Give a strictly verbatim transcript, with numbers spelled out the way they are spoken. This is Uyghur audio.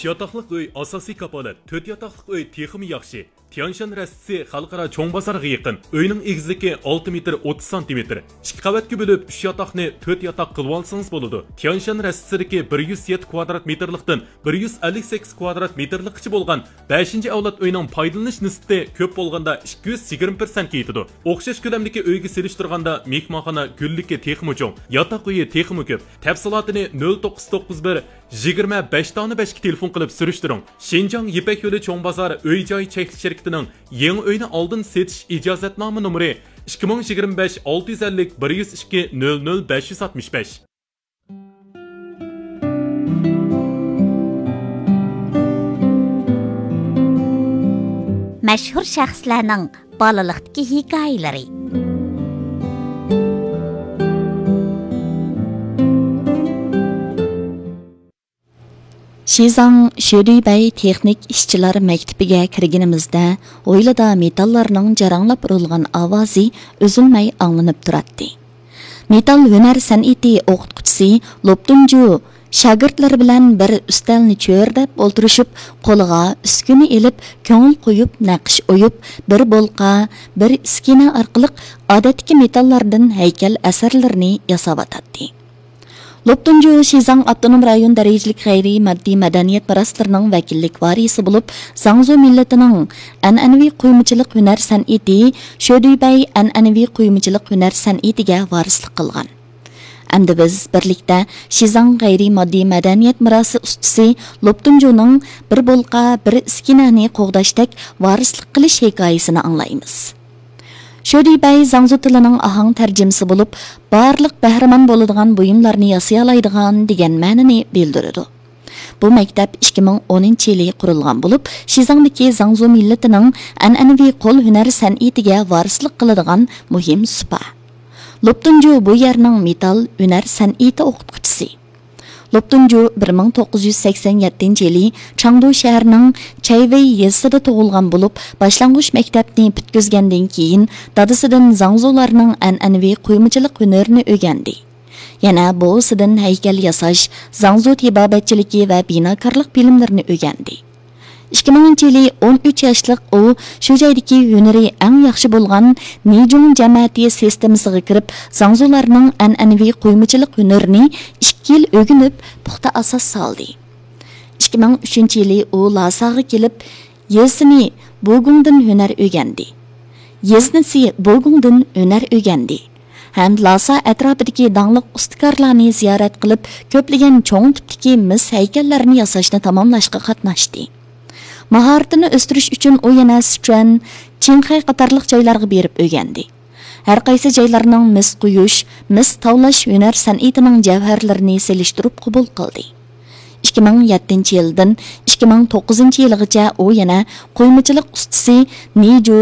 ئۈچ ياتاقلىق ئۆي ئاساسىي كاپالەت، تۆت ياتاقلىق ئۆي تېخىمۇ ياخشى. تيانشان رەستىسى خەلقئارا چوڭ بازار يېقىن. ئۆينىڭ ئېگىزلىكى ئالتە مېتىر ئوتتۇز سانتىمېتىر. ئىككى قەۋەتكە بۆلۈپ، ئۈچ ياتاقنى تۆت ياتاق قىلىۋالسىڭىز بولىدۇ. تيانشان رەستىسىدىكى بىر يۈز يەتتە كۋادرات مېتىرلىقتىن بىر يۈز ئەللىك سەككىز كۋادرات مېتىرلىققىچە بولغان بەشىنچى ئەۋلاد ئۆينىڭ پايدىلىنىش نىسبىتى كۆپ بولغاندا ئىككى يۈز يىگىرمە پىرسەنتكە يېتىدۇ. ئوخشاش كۆلەمدىكى ئۆيگە سېلىشتۇرغاندا مېھمانخانا گۈللۈكى تېخىمۇ چوڭ، ياتاق ئۆيى تېخىمۇ كۆپ. تەپسىلاتىنى نۆل توققۇز توققۇز بىر، يىگىرمە بەش دانە بەشكە تېلېفون قىلىپ سۈرۈشتۈرۈڭ. شىنجاڭ يىپەك يولى چوڭ بازار ئۆي جاي چەكلىك شىركىتىنىڭ يېڭى ئۆينى ئالدىن سېتىش ئىجازەتنامە نومۇرى ئىككى مىڭ يىگىرمە بەش ئالتە يۈز ئەللىك بىر يۈز ئىككى نۆل نۆل بەش يۈز ئاتمىش بەش. مەشھۇر شەخسلەرنىڭ بالىلىقتىكى ھېكايىلىرى. شىزاڭ شۆدۈيبەي تېخنىك ئىشچىلار مەكتىپىگە كىرگىنىمىزدە، ھويلىدا مېتاللارنىڭ جاراڭلاپ ئۇرۇلغان ئاۋازى ئۈزۈلمەي ئاڭلىنىپ تۇراتتى. مېتال ھۈنەر سەنئىتى ئوقۇتقۇچىسى لوپتۇنجۇ شاگىرتلىرى بىلەن بىر ئۈستەلنى چۆرىدەپ ئولتۇرۇشۇپ، قولىغا ئۈسكۈنە ئېلىپ، كۆڭۈل قويۇپ نەقىش ئويۇپ، بىر بولقا، بىر ئىسكىنە ئارقىلىق ئادەتتىكى مېتاللاردىن ھەيكەل ئەسەرلىرىنى ياساۋاتاتتى. لوپتۇنجۇ شىزاڭ ئاپتونوم رايون دەرىجىلىك غەيرىي ماددىي مەدەنىيەت مىراسلىرىنىڭ ۋەكىللىك ۋارىسى بولۇپ، زاڭزۇ مىللىتىنىڭ ئەنئەنىۋى قۇيمىچىلىق ھۈنەر سەنئىتى، شۆدۈيبەي ئەنئەنىۋى قۇيمىچىلىق ھۈنەر سەنئىتىگە ۋارىسلىق قىلغان. ئەمدى بىز بىرلىكتە شىزاڭ غەيرىي ماددىي مەدەنىيەت مىراسى ئۇستىسى لوپتۇنجۇنىڭ بىر بولقا، بىر ئىسكىنەنى قوغداشتەك ۋارىسلىق قىلىش ھېكايىسىنى ئاڭلايمىز. شۆدىبەي زاڭزۇ تىلىنىڭ ئاھاڭ تەرجىمىسى بولۇپ، بارلىق بەھرىمەن بولىدىغان بۇيۇملارنى ياسىيالايدىغان دېگەن مەنىنى بىلدۈرىدۇ. بۇ مەكتەپ ئىككى مىڭ ئونىنچى يىلى قۇرۇلغان بولۇپ، شىزاڭدىكى زاڭزۇ مىللىتىنىڭ ئەنئەنىۋى قول ھۈنەر سەنئىتىگە ۋارىسلىق قىلىدىغان مۇھىم سۇپا. لوپتۇنجۇ بۇ يەرنىڭ مېتال ھۈنەر سەنئىتى ئوقۇتقۇچىسى. لوپتۇنجۇ بىر مىڭ توققۇز يۈز سەكسەن يەتتىنچى يىلى چاڭدۇ شەھىرىنىڭ چەيۋېي يېزىسىدا تۇغۇلغان بولۇپ، باشلانغۇچ مەكتەپنى پۈتكۈزگەندىن كېيىن، دادىسىدىن زاڭزۇلارنىڭ ئەنئەنىۋى قۇيمىچىلىق ھۈنىرىنى ئۆگەندى. يەنە بوۋىسىدىن ھەيكەل ياساش، زاڭزۇ تېبابەتچىلىكى ۋە بىناكارلىق بىلىملىرىنى ئۆگەندى. ئىككى مىڭىنچى يىلى ئون ئۈچ ياشلىق ئۇ شۇ جايدىكى ھۈنىرى ئەڭ ياخشى بولغان نىجۇڭ جەمەتى سىستېمىسىغا كىرىپ، زاڭزۇلارنىڭ ئەنئەنىۋى قۇيمىچىلىق ھۈنىرىنى ئىككى يىل ئۆگىنىپ، پۇختا ئاساس سالدى. ئىككى مىڭ ئۈچىنچى يىلى ئۇ لاساغا كېلىپ، يېزىسىنى بوگۇڭدىن ھۈنەر ئۆگەندى. يېزىسى بوگۇڭدىن ھۈنەر ئۆگەندى ھەم لاسا ئەتراپىدىكى داڭلىق ئۇستىكارلارنى زىيارەت قىلىپ، كۆپلىگەن چوڭ تىپتىكى مىس ھەيكەللەرنى ياساشنى تاماملاشقا قاتناشتى. ماھارىتىنى ئۆستۈرۈش ئۈچۈن ئۇ يەنە سىچۈەن، چىڭخەي قاتارلىق جايلارغا بېرىپ ئۆگەندى. ھەر قايسى جايلارنىڭ مىس قويۇش، مىس تاۋلاش ھۈنەر سەنئىتىنىڭ جەۋھەرلىرىنى سېلىشتۇرۇپ قوبۇل قىلدى. ئىككى مىڭ يەتتىنچى يىلدىن ئىككى مىڭ توققۇزىنچى يىلغىچە ئۇ يەنە قۇيمىچىلىق ئۇستىسى نىجۇ